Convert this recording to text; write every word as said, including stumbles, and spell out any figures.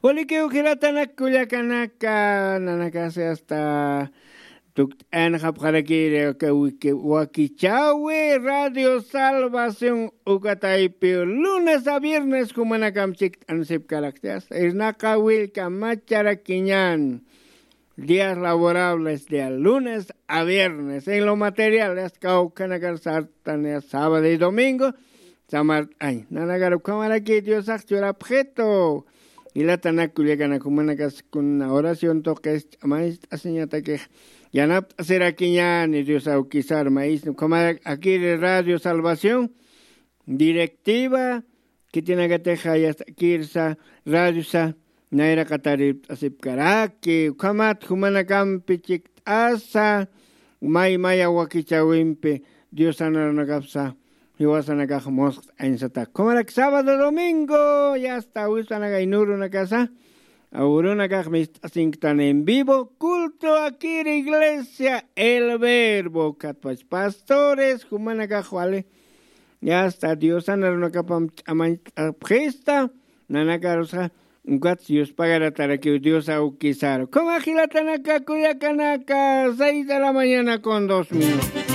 Ulikiw jilatanak kullakanaka, nanakasi hasta tukt'ayanxapxarakiri wakichawi Radio Salvación ukataypi lunes a viernes jumanakam chikt'ansipkarakti, hasta irnaqa willka macharakiñan. Días laborables de lunes a viernes. En lo material, hasta kawkhanakar sartania sábado y domingo. Samart'añ. Nanakar ukhamaraki Diosax churapxitu. Jilatanak kullakanak, jumanakas kuna oración tuqis ch'amañcht'asiñatakix yanapt'asirakiñani Dios awkisar maíz. Ukhamarak akiri Radio Salvación directiva, khitinakatixa yastakirsa, radiosa, nayraqataript'asipkaraki, ukhamat jumanakampi chikt'asa, may maya wakichawimpi, Dios sanarunakapsa, jiwasanakax musqt'añsata. Ukhamarak sábado, domingo, yasta wispanaka inurunakasa, awrunakax mist'asinktan en vivo, culto akir iglesia, el verbo, katpach pastores, jumanakax wali, yasta Dios sanarunakapam ch'amañt'apxista, nanakarusxa, ukat Dios pagaratarakiw Dios awkisar. Ukhama jilatanaka, kullakanaka, seis de la mañana con dos minutos.